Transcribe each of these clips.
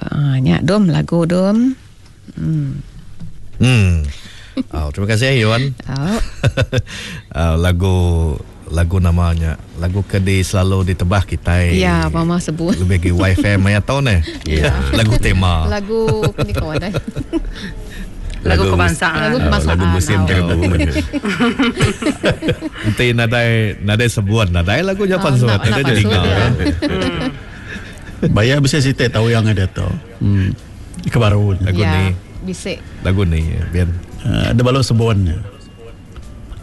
Ah nya dum lagu dum. Hmm. Hmm. Oh, terima kasih Yuan. Oh. Lagu lagu nama nya lagu ke di selalu ditebah kitai. Ya, mama sebut. Lebih agi YFM maya tau neh. Ya. Lagu tema. Lagu ni kawan eh. Lagu kebangsaan. Lagu kebangsaan. Lagu musim jerebu. Enti nadai nadai sebut nadai lagu nya pansut. Nadai dinga. Baya bisi siti tau yang ada tu. Hmm. Ke baru. Lagu ya, ni. Bisi. Lagu ni biar. Ada balut sebun.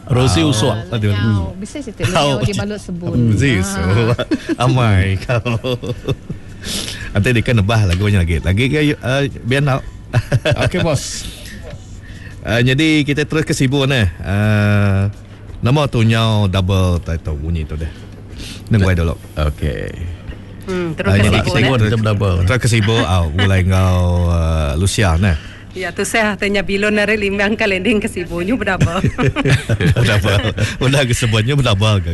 Rosie Usuk. Lenyau. Bisi siti lenyau di balut sebun. Bisi usuk. Amai kau. Nanti dia kan nebah lagunya lagi. Lagi ke uh, biar nak. Okey bos. Jadi kita terus ke Sibu ni. Nama tu nyau double title bunyi tu deh. Nengguai dulu. Okey. Terus ke Jadi Sibu kita ne. terus, Double. terus ke Sibu au mulai ngau Lucia ne. Ya tu saya tanya bilon dari Limbang ke landing ke Sibu nyu berapa? Double. Udah ke sebutnya double ke.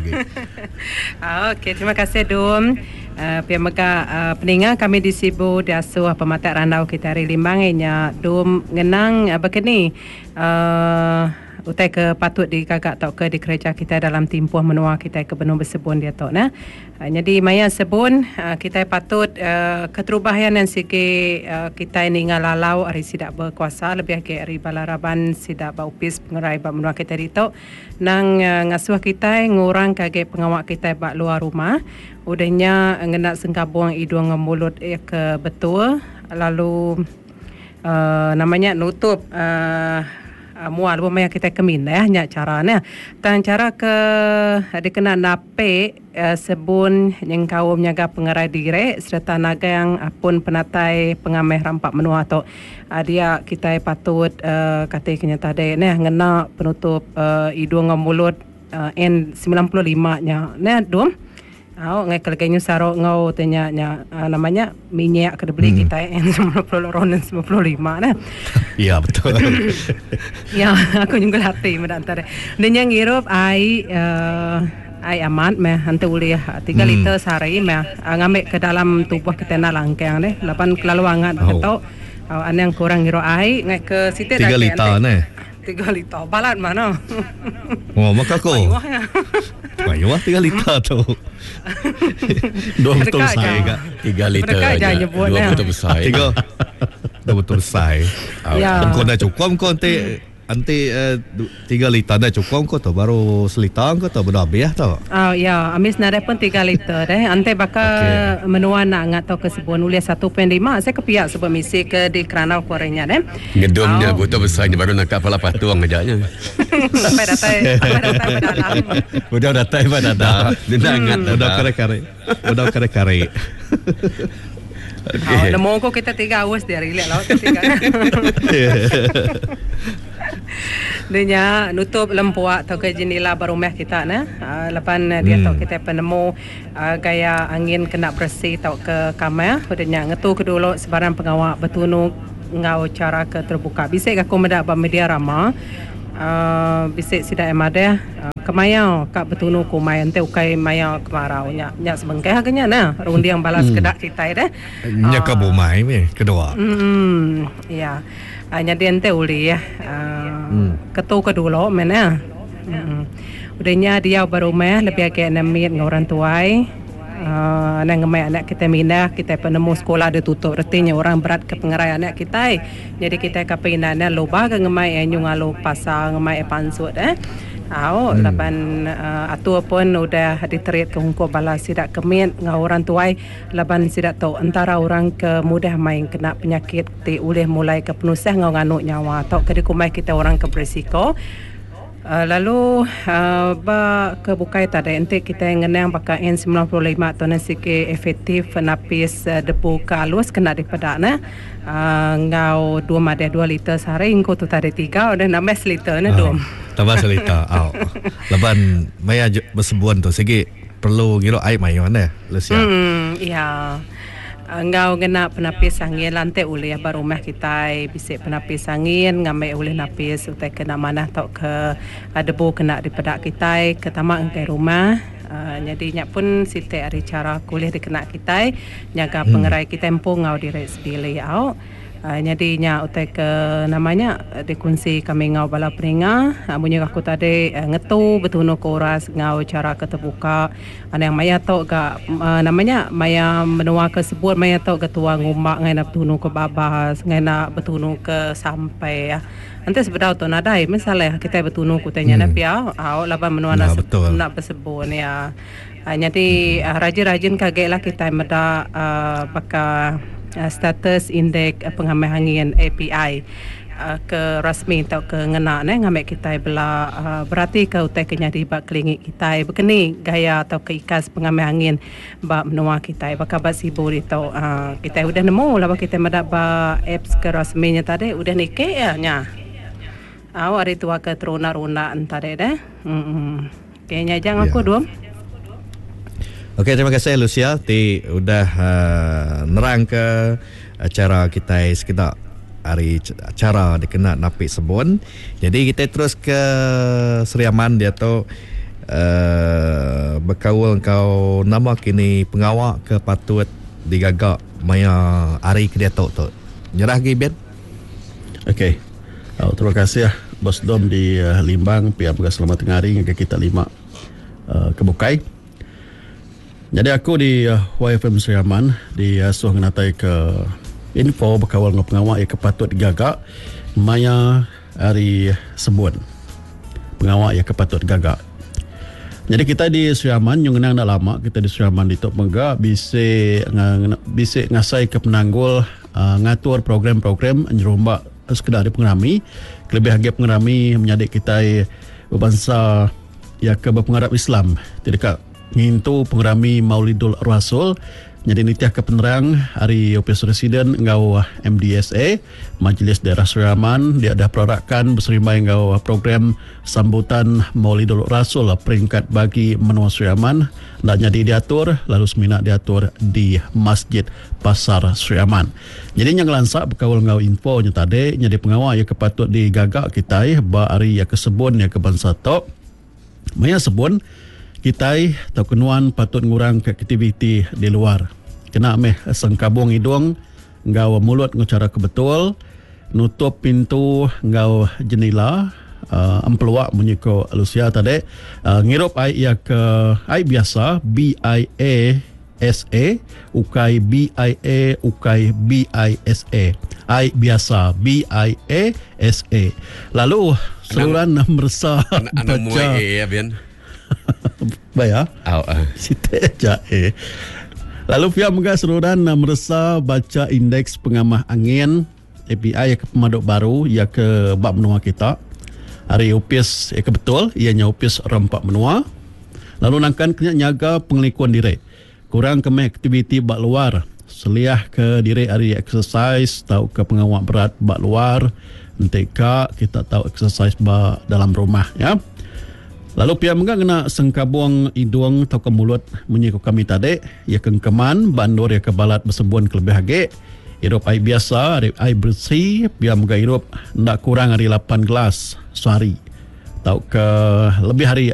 Okey, terima kasih Dum. Pia mega peninga kami di Sibu diasuh pematak randau kita hari Limbang nya Dum ngenang bekeni utai ke patut digaga tauka dikereja kita dalam timpuh menua kita ke benung besebun diatu nah. Nyadi maya sebun kitai patut keterubah iya nan sigi kitai ninga lalau ari sida bekuasa lebih agi ari bala raban sida ba opis pengerai ba menua kitai ditu nang ngasuh kitai ngurangka agi pengawa kitai ba luar rumah. Udah nya ngena sengkabung idung enggau mulut iya ke betul lalu nama nya nutup mua lebuh maya kitai ke mindah nya chara ne. Tang chara ke dikena napi sebun nyengkaum nyaga pengerai diri sereta nagang pun penatai pengamih rampa menua tu. Dia kitai patut kati ke nya tadi neh ngena penutup idung enggau mulut N95 nya neh dum. Au ngai ke legi nyu saro enggau te nya nya nama nya minyak ke dibeli kitai N90 N95 neh. Ya betul. Ya aku nyungkul ati meda enta deh. Enda nya ngirup ai uhh ai amat meh enti ulih tiga liter sehari meh ngambi ke dalam tubuh kitai enda langkang deh laban kelalu angat baka tu anang kurang ngirup ai ngai ke siti Tiga agi liter enti. neh. Tiga liter balat mana. Oh maka ko. Mayuh nya. Mayuh tiga liter tu. Dua betul Deka besai. aja. Tiga liter Deka aja aja. nyebut Dua nya. betul besai. Tiga. Dua betul besai. Ya. Engkau dah cukup engkau nanti Enti tiga liter enda cukup engkau tu baru seliter engkau tu beda habis tu. Oh ya, ambis nadai pun tiga liter deh. Enti baka Okey. menua enda angat tauka sebun ulih 1.5 saya ke pia sebut misi ke dikerandau ku ari nya deh. Ngedum nya Au. butuh besai nya baru nangkap pala patung aja nya. Sampai datai sampai datai ba dalam. Udah datai ba dada. Enda angat Udah dada. kare-kare. Udah kare-kare. Okey. Oh, nemu ko kita tiga aus dia relax laut tiga. Dia nya nutup lempuak tauka jendela ba rumah kita ne. Uh, laban hmm. dia tau kita penemu uh, gaya angin kena bersih tauka kamar. Udah nya ngetu ke dulu sebarang pengawa betunu enggau cara ke terbuka. Bisi aku meda ba media rama. Uh, bisi sida yang madah uh, kemaya ka betunu kumai enti ukai maya kemarau nya nya sebengkah ke nya nah runding bala sekeda kitai deh. Nya ka bumai meh kedua. Hmm ya. Uh, nyadi enti ulih uh, ketu ke dulu meh nah. Hmm. Udah nya diau ba rumah lebih agi anak mit enggau orang tuai. Aaa anang ngemai anak kitai mindah, kitai penemu sekula ditutup reti nya orang berat ke pengerai anak kitai. Nyadi kitai ka peinda nya luba ga ngemai iya nyu ngalu pasar ngemai iya pansut eh. Au laban aaa atur pun udah diterit ke ungkup bala sida ke mit enggau orang tuai laban sida tu entara orang ke mudah mai kena penyakit ti ulih mulai ke penusah enggau nganu nyawa tauka dikumbai kitai orang ke berisiko. Lalu ba ke bukai tadi enti kitai ngenang baka N 95 tu neh sigi efektif napis debu ke alus kena dipeda neh enggau dua madih dua liter sehari engku tu tadi tiga udah nambah seliter neh dum. Tambah seliter au laban maya besebun tu sigi perlu ngirup ai mayuh neh Lucia. Emm iya. Enggau ngena penapis angin lantik ulih ba rumah kitai bisi penapis angin ngambi ulih napis utai ke enda manah tauka debu kena dipeda kitai ke tama ngagai rumah. Nyadi nya pun siti ari chara ke ulih dikena kitai nyaga pengerai kitai empu enggau diri sebilik au. Nyadi nya utai ke nama nya dikunsi kami enggau bala peninga munyi aku tadi ngetu betunu ke uras enggau chara ke tebuka anang maya tu ga nama nya maya menua ke sebut maya tu ga tua ngumba ngai enda betunu ke babas ngai enda betunu ke sampai. Enti sebedau tu nadai meh salah kitai betunu ke utai nya neh pia au laban menua enda enda besebun iya. Nyadi rajin-rajin ke agi lah kitai meda baka status indek pengamih angin API ke rasmi tauka ngena neh ngambi kitai bela beratika utai ke nyadi ba kelingi kitai bekeni gaya tauka ikas pengamih angin ba menua kitai baka ba Sibu ditu kitai udah nemu laban kitai meda ba apps ke rasmi nya tadi udah niki iya nya. Au ari tua ke terunda-runda enta deh deh. Emm. Okey nya aja ngaku dum. Okey terima kasih Lucia ti udah uh, nerang ke chara kitai sekeda ari chara dikena napi sebun. Jadi kitai terus ke Sri Aman diatu uh, bekaul enggau nama kini pengawa ke patut digaga maya hari ke diatu tu. Nyerah agi Ben. Okey. Oh, terima kasih Bos Dom di uh, Limbang pia mega selamat tengah hari ngagai kita lima uh, ke bukai. Nyadi aku di YFM Sri Aman diasuh ngenatai ke info bekaul enggau pengawa iya ke patut digaga maya hari sebun. Pengawa iya ke patut digaga. Nyadi kitai di Sri Aman nyau ngenang enda lama kitai di Sri Aman ditu mega bisi bisi ngasai ke penanggul ngatur program-program nyerumba sekeda ari pengerami kelebih agi pengerami menyadi kitai bebansa iya ke bepengarap Islam ti deka ngintu pengerami Maulidul Rasul nyadi nitihka penerang ari Opis Residen enggau MDSA, Majlis Daerah Sri Aman dia udah perarakan beserimbai enggau program Sambutan Maulidul Rasul peringkat bagi menua Sri Aman enda nyadi diatur lalu semina diatur di Masjid Pasar Sri Aman. Nyadi nya ngelansa bekaul enggau info nya tadi nyadi pengawa iya ke patut digaga kitai ba hari iya ke sebun iya ke bansa tu. Maya sebun, kitai tauka nuan patut ngurangka aktiviti di luar. Kena meh sengkabung idung enggau mulut enggau chara ke betul, nutup pintu enggau jenila empelua munyi ko Lucia tadi, ngirup ai iya ke ai biasa BIA. SA, ukai BIA, ukai BISA. Ai biasa, BIA SA. Lalu seruran meresa baca. Muai A ya bin. Baya. Au ah. Siti aja A. Lalu pia mega seruran meresa baca indeks pengamah angin API ke pemadu baru iya ke ba menua kita. Ari opis iya ke betul iya nya opis rampa menua. Lalu nangkan ke nya nyaga pengelikun diri. Kurang ke meh aktiviti ba luar. Seliah ke diri ari exercise tauka pengawa berat ba luar. Enti ka kita tau exercise ba dalam rumah ya. Lalu pia mega ngena sengkabung idung tauka mulut munyi ku kami tadi iya ke engkeman ba endur iya ke balat besebun kelebih agi. Irup ai biasa ari ai beresi pia mega irup enda kurang ari lapan gelas sehari tauka lebih ari.